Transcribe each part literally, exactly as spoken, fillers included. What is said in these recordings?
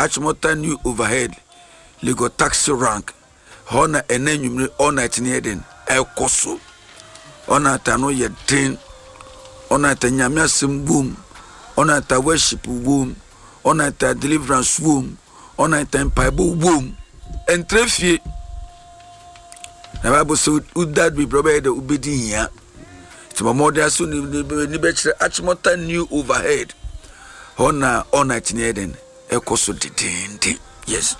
Achimota New Overhead, Legon taxi rank hɔ na ɛnɛ nwumire all night ne yɛ den ɛkɔ so. All night ano yɛ den. All night Nyame asɛm wom. All night worship wom. All night deliverance wom. All night mpaebɔ wom. Ɛntrɛ fie na Bible sɛ woda bebree, ɔbɛyɛ dɛ wobɛdi hia, nti ma mmɔden aso ni bɛkyerɛ Achimota New Overhead hɔ na all night ne yɛ den ɛkɔ so dedenden. Yes,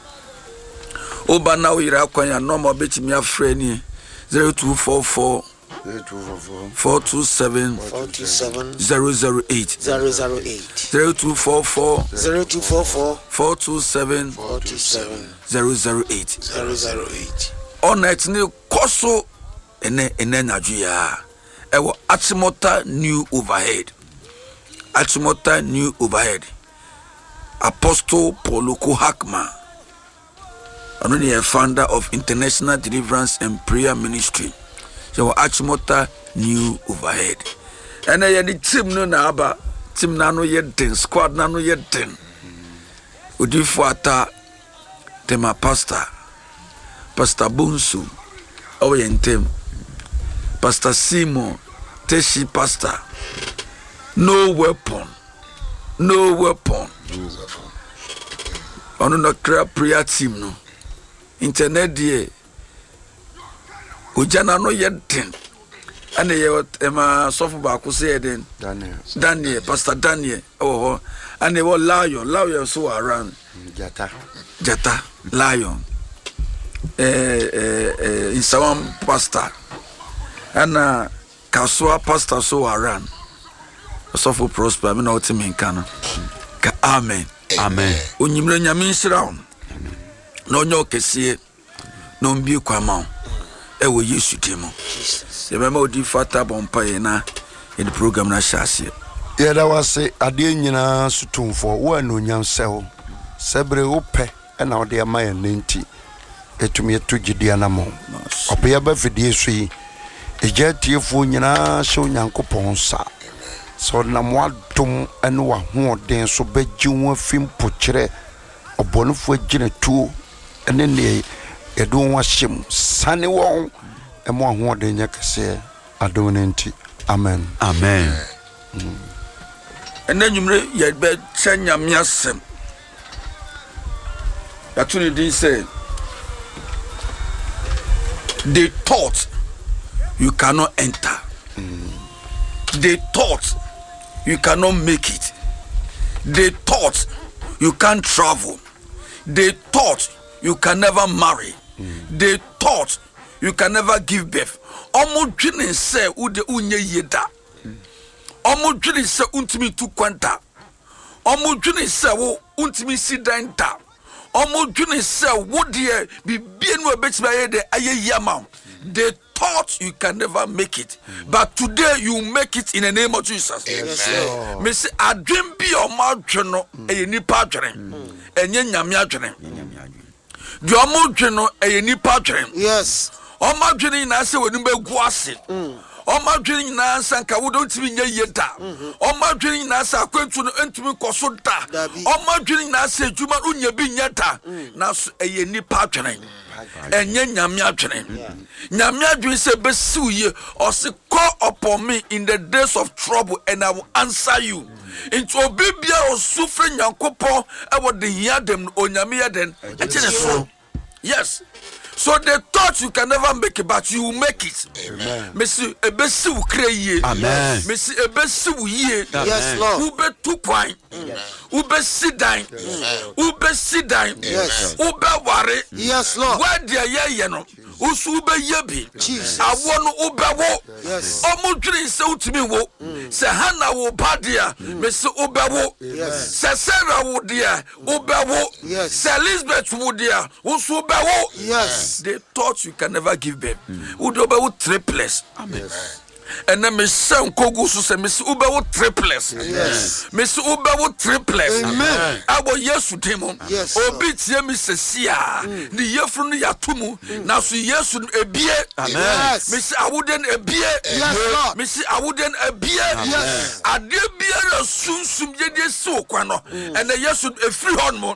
woba na woyere akwan a, nɔɔma wobɛtumi afrɛ ni zero two four four four two seven four two seven zero zero eight. zero zero eight. zero two four four zero two four four four two seven four two seven zero zero eight. zero zero eight. All night ne kɔ so ɛnɛ ɛnɛ anadwo yi a ɛwɔ Achimota New Overhead, Achimota New Overhead. Apostle Paul Oko Hackman, ɔno ne yɛ founder of International Deliverance and Prayer Ministry, yɛwɔ Achimota New Overhead. Ɛnɛ yɛde team no na aba. Team no ano yɛ den, squad no ano yɛ den. Odifo Ata Tema, pastor Pastor Bonsu ɛwɔ yɛn ntam, Pastor Simon Teshi, Pastor No Weapon, No Weapon, ɔno na kra prayer team no. Internet deɛ, ogya n'ano yɛ den. Ɛna yɛ ɛma sɔfo baako sɛ yɛ den. Daniel. Daniel, Pastor Daniel ɛwɔ hɔ. Ɛna ɛwɔ Lion, Lion nso wɔ around. Jata. Jata Lion, ɛɛ ɛɛ ɛɛ Nsawam pastor ɛna Kasoa pastor so wɔ around. Ɔsɔfo Prosper mi na ɔte mi nka no ka amen. Amen. Onyimire, Nyame nhyira wo na ɔnyɛ ɔkɛseɛ na ɔmbie kwan ma wo ɛwɔ Yesu din mu. Jesus. Yɛbɛma odi fata bɔ mpaeɛ na yɛde program no ahyɛ aseɛ. Yɛda wase, adeɛ nyinaa so tumfoɔ, wo anuonyam sɛ wo sɛ bere wopɛ ɛna wode ama yɛn ne nti ɛtumi ɛto gyidi anammɔn. Ɔbea ba fidie so yi, ɛgya atiefoɔ nyinaa hyɛ Onyankopɔn nsa sɛ ɔnam w'adom ne w'ahoɔden so bɛgye wo afi mpokyerɛ ɔbɔnefoɔ agyinatuo ne neɛ yɛde wɔn ahyɛ mu. Sane wɔn ɛma ahoɔden nyɛ kɛseɛ, adom no nti, amen. Amen. Ɛnɛ nwumere yɛbɛkyɛ Nyame asɛm. Yɛato ne din sɛ "They Thought You Cannot Enter", "They Thought You Cannot Make It", "They Thought You Can't Travel", "They Thought You Can Never Marry", "They Thought You Can Never Give Birth". Ɔmo dwene sɛ wode wonyɛ yie da, ɔmo dwene sɛ wontumi tu kwan da, ɔmo dwene sɛ wo wontumi si dan da, ɔmo dwene sɛ wo deɛ bibie no a ɛbɛtumi ayɛ dɛ ayɛ yie ama wo. They thought you can never make it, but today you make it in the name of Jesus. Yes, Lord. Mesi adwen bi a ɔmo adwe no ɛyɛ nipa adwene, ɛnyɛ Nyame adwene. Deɛ ɔmo dwe no ɛyɛ nipa adwene. Yes. Ɔmo adwene nyinaa sɛ wɔn bɛgu ase. Ɔmo adwene nyinaa sɛ nka wode ntumi nyɛ yie da. Ɔmo adwene nyinaa sɛ akwantu no ntumi nkɔ so da. Dabi. Ɔmo adwene nyinaa sɛ adwuma no nya bi nyɛ da, nanso ɛyɛ nipa adwene, ɛnyɛ Nyame adwene. Nyame adwene sɛ bɛsiw yie. Ɔse, "Call upon me in the days of trouble and I will answer you." Nti obi biara ɔsu firi Nyankopɔn ɛwɔ de hia dɛm no, Onyame yɛ den ɛkye ne so. Yes, so they thought you can never make it, but you will make it. Amen. Mesi ebesi wo kra yie. Amen. Mesi ebesi wo yie. Yes, Lord. Wobɛtu kwan, wobɛsi dan, wobɛsi dan. Yes. Wobɛware. Yes, Lord. Woadeɛ yɛyɛ no, woso wobɛyɛ bi. Jesus. Awoɔ no wobɛwo. Yes. Ɔmo dwene sɛ wotumi wo. Sɛ Hana wo ba deɛ, mesi wobɛwo. Yes. Sɛ Sarah wo deɛ, wobɛwo. Yes. Sɛ Elizabeth wo deɛ, wo nso wobɛwo. Yes. They thought you can never give birth, wode wobɛwo triplets. Ɛnɛ mehyɛ nkogu so sɛ mesi wobɛwo triplets. Yes. Mesi wobɛwo triplets. Amen. Ɛwɔ Yesu din mu. Yes, Lord. Obi tie mi sɛsi a ne yɛfunu no yɛato mu, nanso Yesu no ebie. Yes. Mesi awode no ebie. Yes, Lord. Mesi awode no ebie. Yes. Adeɛ biara sunsum yɛde si wo kwan no, ɛnɛ Yesu no efiri hɔ nom.